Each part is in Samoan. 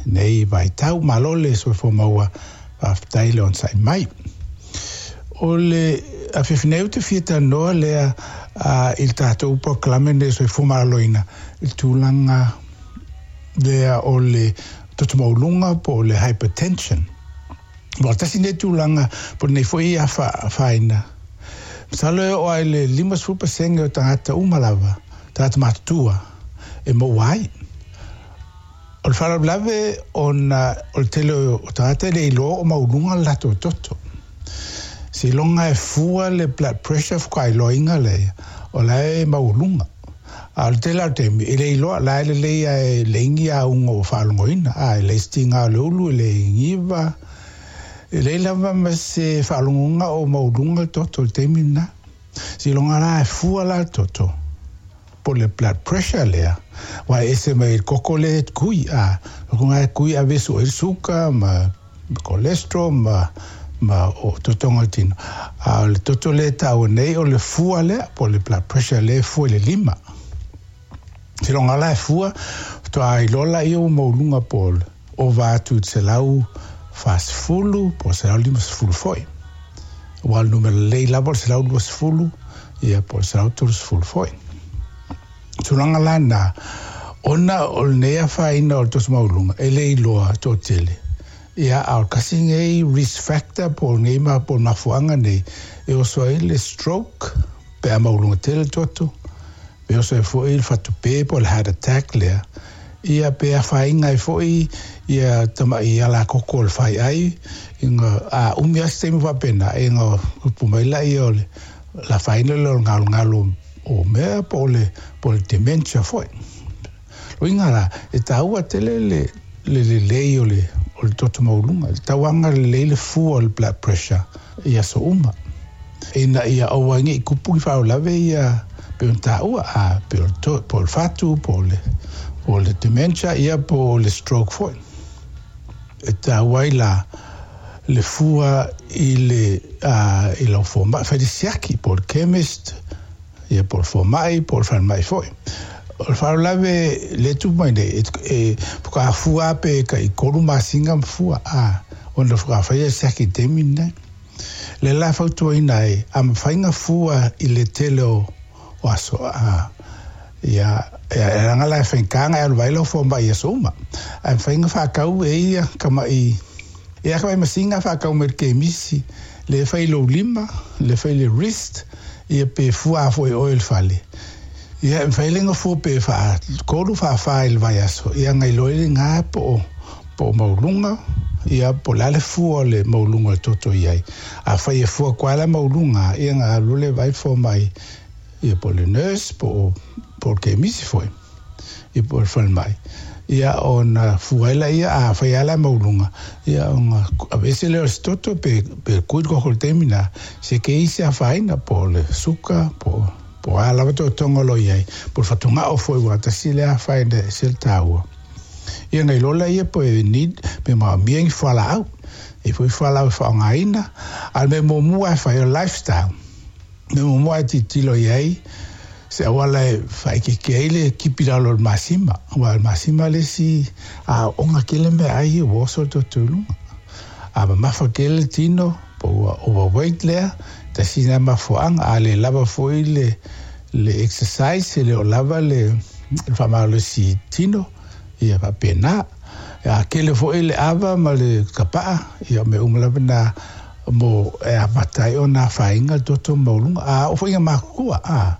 lenei vaitau. Malo le soifua maua, faafetai le onosai mai. O le afiafi nei ou te fia talanoa lea i le tatou polokalame lenei o le Soifua Maloloina i le tulaga lea o le toto maualuga po o le hypertension. Ua tasi lenei tulaga po o lenei foi afaina. Masalo e oo lava i le 50% o tagata uma lava, tagata matutua e maua ai. O le faalavelave ona o le tele o tagata e le iloa o maualuga le latou toto. Seiloga e fua le blood pressure faatoa iloaina lea o la e maualuga. A o le tele lava o le taimi e le iloa, la e lelei lava e leai ni auga ua faalogoina, a e leai se tiga o le ulu, e leai niva, e leai lava ma se faalogoga o maualuga le toto i le taimi lena. Seiloga la e fua la le toto po o le blood pressure lea, aua e ese mai le koko lea e tui, a, o lena e tui ave e sue ai le suka ma cholesterol ma o totoga o le tino. A o le toto lea e taua nei o le fua lea po o le blood pressure lea e fua i le lima. Seiloga la e fua faatoa iloa lea ua maualuga po o le ova atu i le 140 po o le 150 foi. Aua o le numera lelei lava o le 120 ia po o le 130 foi. Tulaga la na, ona o lenei afaina o le toto maualuga e le iloa toatele. Ia, a o le tasi lenei risk factor po o lenei po o le mafuaaga nei e oso ai le stroke pe a maualuga tele le toto, pe oso ai foi le fatupe po o le heart attack lea, ia pe afaina ai foi ia tamai alakoko o le faiai, ina a umi lava se taimi faapena, ina tupu mai lea o le afaina lea o le galogalo o mea po o le dementia foi. Uiga la, e taua tele le lelei o le toto maualuga, le tauaga lelei le fua o le blood pressure i aso uma. Ina ia aua ai ne i tupu ni faalavelave ia pei ona taua, a pei o le fatu, po o le dementia, ia po o le stroke foi. E taua ai la le fua i le i lau fomai, fai le siaki, po o le chemist, ia po o le fomai, po o le falemai foi. O le faalavelave lea e tupu mai nei, e faatoa fua pe tai 3 masina ma fua, a, ona faatoa faia le siaki i le taimi lenei. Le la fautuaina ai, a mafai ona fua i le tele o aso, a, ia, e leaga la e faigata ona e alu vaai lau fomai i aso uma. Ae mafai ona faatau e ia tamai, ia tamai masina faatau mai le kemisi, le fai i lou lima, le fai i le wrist, ia pe fua foi oe i le fale. Ia e mafai lea ona fua pe faa-3 faa-4 i le vaiaso, ia ona iloa ai lena po o maualuga, ia po o le a le fua o le maualuga o le toto i ai. Afai e fua atu lava la maualuga, ia ona alu lea vaai le fomai, ia po o le nurse, po o le kemisi foi, ia po o le falemai. Ia ona fua ai lea, afai lava la maualuga, ia ona aveese lea o se toto pe tui le koko i le taimi lena, se i se afaina, po o le suka, po o a lava totoga o lo o i ai, po o le fatugao foi ua tasi lea afaina e ese le taua. Ia na iloa lea po e need, pe maomia ni fualaau. E foi fualaau e faaaogaina, a o le mea muamua e fai o le lifestyle. Mea muamua e tilotilo i ai, se auala e faaitiitia ai le tipi i lalo o le masima. Aua o le masima le isi aoaoga tele meaai ia ua oso le toto i luga. A mamafa tele le tino, po ua overweight lea, tasi lena mafuaaga. A le lava foi le exercise, e le o lava le faamalosi tino, ia faapena. A tele foi le ava ma le tapaa, ia o mea uma lava na mo e amata ai ona afaina le toto maualuga. A oo foi ina matutua, a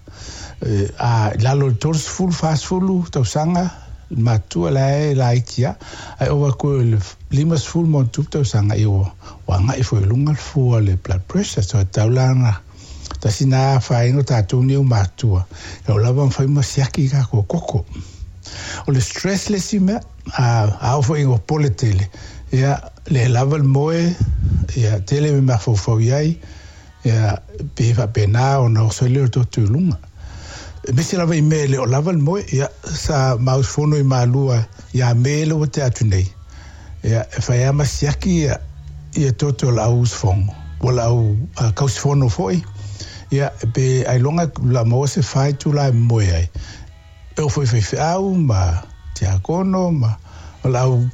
i lalo o le 30, 40 tausaga, matua la e laiti lava, ae ova atu i le 50 ma ona tupu tausaga, ia ua agai foi i luga le fua o le blood pressure. So e tatau la ona tasi na afaina o tatou nei o matua, e oo lava ona fai ma siaki i tatou koko. O le stress le isi mea, a oo foi ina popole tele, ia le lava le moe, ia tele me mafaufau i ai, ia pe faapena ona oso ai lea o le toto i luga. Aemaise lava i mea e le o lava le moe, ia sa mausufono i Malua ia Me le ua tea atu nei, ia e fai lava ma siaki ia toto o le au usufono, po o le au kausifono foi, ia pe ailoga la maua se 4 itula e moe ai. E oo foi i faifeau ma tiakono ma o le au